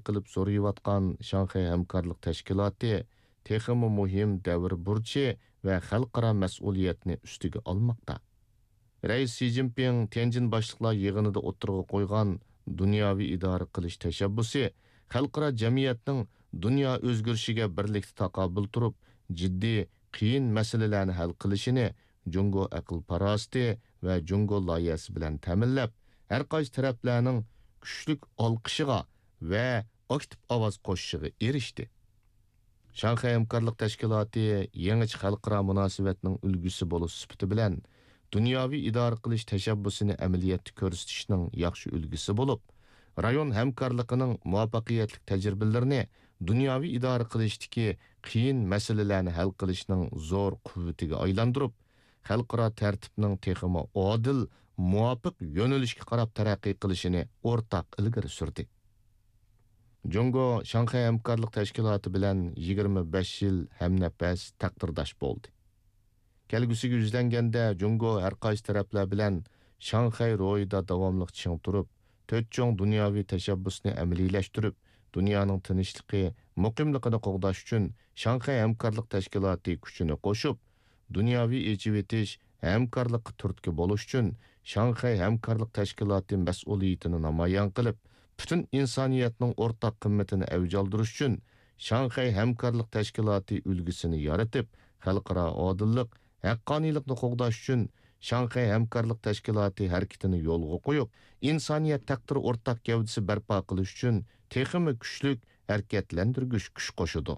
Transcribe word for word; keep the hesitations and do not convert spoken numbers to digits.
قىلىپ زورىيىۋاتقان شاڭخەي ھەمكارلىق تەشكىلاتى تېخىمۇ مۇھىم دەۋر بۇرچى ۋە خەلقئارا مەسئۇلىيەتنى ئۈستىگە ئالماقتا. رەئىس شى جىنپىڭ تيەنجىن باشلىقلار يىغىنىدا ئوتتۇرىغا قويغان دۇنياۋى ئىدارە قىلىش تەشەببۇسى خەلقئارا جەمئىيەتنىڭ دۇنيا ئۆزگىرىشىگە بىرلىكتە تاقابىل تۇرۇپ، جىددىي، قىيىن مەسىلىلەرنى ھەل قىلىشىنى جۇڭگو ئەقىل-پاراسىتى ۋە جۇڭگو لايىھەسى بىلەن تەمىنلەپ، ھەر قايسى تەرەپلەرنىڭ كۈچلۈك ئالقىشىغا ۋە ئاكتىپ ئاۋاز قوشۇشىغا ئېرىشتى. شاڭخەي ھەمكارلىق تەشكىلاتى يېڭىچە خەلقئارا مۇناسىۋەتنىڭ ئۈلگىسى بولۇش سۈپىتى بىلەن، دۇنياۋى ئىدارە قىلىش تەشەببۇسىنى ئەمەلىيەتتە كۆرسىتىشنىڭ ياخشى ئۈلگىسى بولۇپ، رايون ھەمكارلىقىنىڭ مۇۋەپپەقىيەتلىك تەجرىبىلىرىنى دۇنياۋى ئىدارە قىلىشتىكى قىيىن مەسىلىلەرنى ھەل قىلىشنىڭ زور قۇۋۋىتىگە ئايلاندۇرۇپ، خەلقئارا تەرتىپنىڭ تېخىمۇ ئادىل، مۇۋاپىق يۆنىلىشكە قاراپ تەرەققىي قىلىشىنى ئورتاق ئىلگىرى سۈردى. جۇڭگو شاڭخەي ھەمكارلىق تەشكىلاتى بىلەن يىگىرمە بەش يىل ھەمنەپەس تەقدىرداش بولدى. كەلگۈسىگە يۈزلەنگەندە، جۇڭگو ھەر قايسى تەرەپلەر بىلەن شاڭخەي روھىدا داۋاملىق چىڭ تۇرۇپ، تۆت چوڭ دۇنياۋى تەشەببۇسنى ئەمەلىيلەشتۈرۈپ، دۇنيانىڭ تىنچلىقى، مۇقىملىقىنى قوغداش ئۈچۈن شاڭخەي ھەمكارلىق تەشكىلاتى كۈچىنى قوشۇپ، دۇنياۋى ئېچىۋېتىش، ھەمكارلىققا تۈرتكە بولۇش ئۈچۈن شاڭخەي ھەمكارلىق تەشكىلاتى مەسئۇلىيىتىنى نامايان قىلىپ، پۈتۈن ئىنسانىيەتنىڭ ئورتاق قىممىتىنى ئەۋج ئالدۇرۇش ئۈچۈن شاڭخەي ھەمكارلىق تەشكىلاتى ئۈلگىسىنى يارىتىپ، خەلقئارا ئادىللىق، ھەققانىيلىقنى قوغداش ئۈچۈن شاڭخەي ھەمكارلىق تەشكىلاتى ھەرىكىتىنى يولغا قويۇپ، ئىنسانىيەت تەقدىرى ئورتاق گەۋدىسى بەرپا قىلىش ئۈچۈن تېخىمۇ كۈچلۈك ھەرىكەتلەندۈرگۈچ كۈچ قوشىدۇ.